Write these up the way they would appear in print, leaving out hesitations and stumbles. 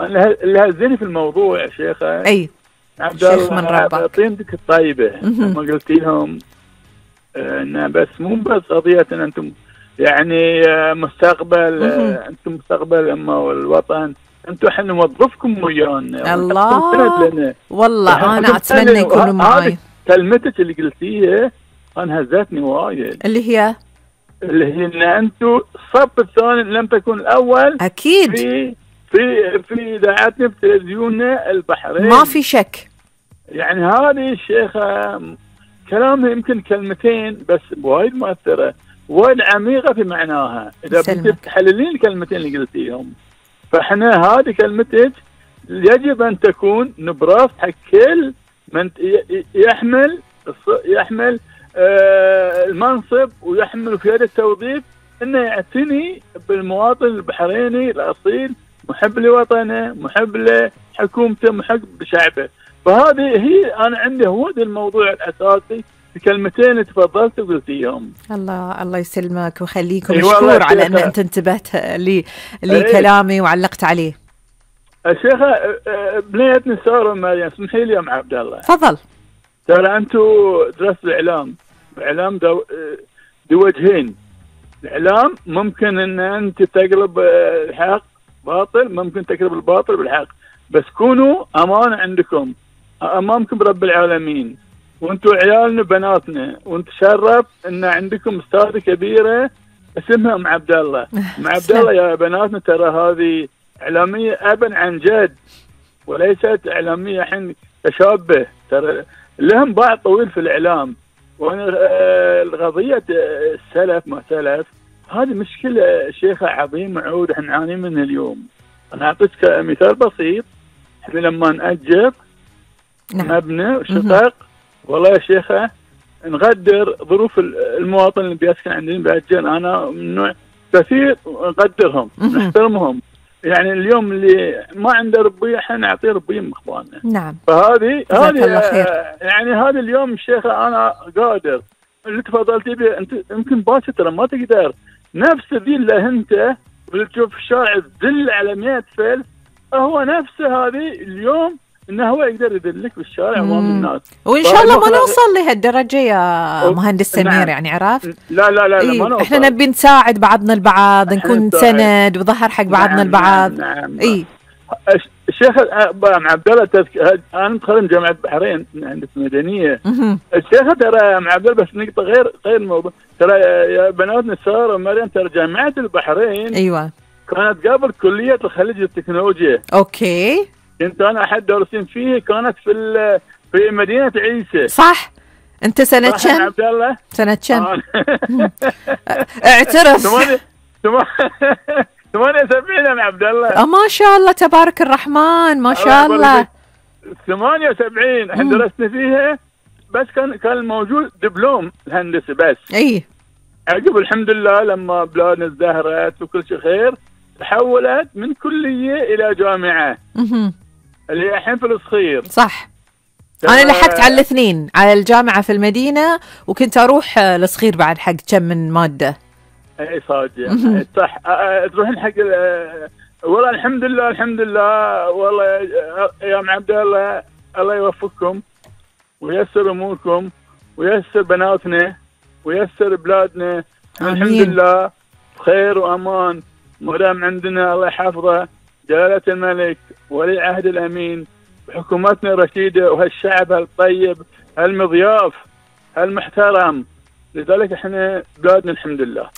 اللي هزني في الموضوع يا شيخة اي عبد شيخ من الله، ربك طينتك الطيبة لما قلت لهم إن بس مو بس قضية إن أنتم يعني مستقبل، أنتم مستقبل الأمة والوطن، أنتم إحنا نوظفكم ويانا. الله والله أنا أتمنى يكونوا معاي. كلمتك اللي قلتيها أنا هزتني وايد، اللي هي إن أنتم الصف الثاني لم تكن الأول أكيد في إذاعتنا في تلفزيوننا البحرين، ما في شك. يعني هذه الشيخة كلامها يمكن كلمتين بس وايد مؤثرة، وايد عميقة في معناها. إذا بدك تحللين الكلمتين اللي قلتيهم، فإحنا هذه كلمتك يجب أن تكون نبراس حق كل من يحمل المنصب ويحمل في هذا التوظيف، إنه يعتني بالمواطن البحريني الأصيل، محب لوطنه، محب لحكومته، محب بشعبه. فهذه هي أنا عندي هو ده الموضوع الأساسي في كلمتين اللي تفضلت وقلتيهم. الله يسلمك ويخليك، ومشكور على أن أنت انتبهت لكلامي وعلقت عليه. الشيخة بنيتنا سارة مريم، اسمحي لي يا ام عبد الله. تفضل. ترى أنتم درستوا الإعلام دو وجهين. الإعلام ممكن أن أنت تقلب الحق باطل، ممكن تقلب الباطل بالحق، بس كونوا أمانة عندكم أمامكم رب العالمين، وأنتوا عيالنا بناتنا، وأنت شرف أن عندكم أستاذة كبيرة اسمها أم عبد الله. أم عبد الله يا بناتنا ترى هذه إعلامية أبا عن جد، وليست إعلامية حين تشابه، ترى لهم بعض طويل في الإعلام. وأنا القضية السلف ما سلف هذه مشكلة شيخة عظيمة عود احنا نعاني منها اليوم. أنا أعطيك مثال بسيط. احنا لما نأجر مبنى وشقق، والله يا شيخة نقدر ظروف المواطن اللي بيسكن عندنا بأجر، أنا من نوع كثير نقدرهم نحترمهم. يعني اليوم اللي ما عنده ربية احنا نعطيه ربية من اخواننا. نعم. فهذه يعني هذا اليوم الشيخة انا قادر اللي تفضلتي به انت يمكن باكر ترى ما تقدر نفس ذي اللي انت تشوف في الشارع تدل على 100 فلس، هو نفسه هذه اليوم انه هو يقدر يدلك بالشارع امام الناس. وان شاء الله ما نوصل لهالدرجه يا مهندس سمير. نعم. يعني عرفت؟ لا ما نوصل. احنا نبي نساعد بعضنا البعض، نكون سند وظهر حق بعضنا البعض. نعم. الشيخ عبد الله انا متخرج جامعه البحرين هندسه مدنيه. الشيخ ترى عبد الله بس نقطه غير الموضوع، ترى يا بناتنا ساره ومريم ترى جامعه البحرين ايوه كانت قبل كليه الخليج للتكنولوجيا. اوكي. كنت انا احد دارسين فيه، كانت في مدينه عيسى. صح. انت سنه كم عبد الله؟ سنه كم؟ اعترف. 78 يا عبد الله. ما شاء الله تبارك الرحمن، ما شاء الله. 78 احنا درسنا فيها، بس كان موجود دبلوم الهندسه بس. اي عقب الحمد لله لما بلادنا ازدهرت وكل شيء خير، تحولت من كليه الى جامعه اللي هي الحين في الصخير. صح. انا لحقت على الاثنين، على الجامعه في المدينه وكنت اروح الصخير بعد حق كم من ماده. اي صادق صح. تروحين حق والله الحمد لله والله يا ام عبد الله، الله يوفقكم وييسر اموركم وييسر بناتنا وييسر بلادنا. الحمد لله بخير وامان، مدام عندنا الله يحفظه جلالة الملك ولي عهد الامين بحكومتنا الرشيده وهالشعب هالطيب هالمضياف هالمحترم. لذلك احنا بلادنا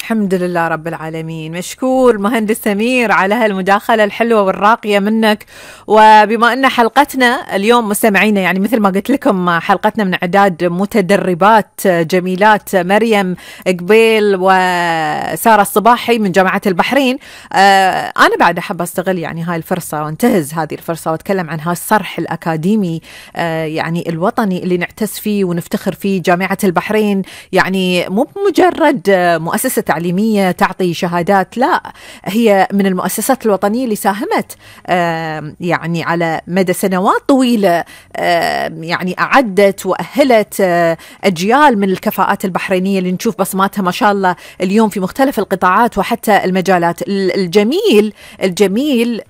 الحمد لله رب العالمين. مشكور مهندس سمير على هالمداخلة الحلوة والراقية منك. وبما ان حلقتنا اليوم مستمعينا، يعني مثل ما قلت لكم حلقتنا من اعداد متدربات جميلات مريم قبيل وسارة الصباحي من جامعة البحرين. انا بعد احب استغل يعني هاي الفرصة وانتهز هذه الفرصة واتكلم عن هالصرح الاكاديمي يعني الوطني اللي نعتز فيه ونفتخر فيه. جامعة البحرين يعني مو مجرد مؤسسة تعليمية تعطي شهادات، لا، هي من المؤسسات الوطنية اللي ساهمت يعني على مدى سنوات طويلة، يعني أعدت وأهلت أجيال من الكفاءات البحرينية اللي نشوف بصماتها ما شاء الله اليوم في مختلف القطاعات وحتى المجالات. الجميل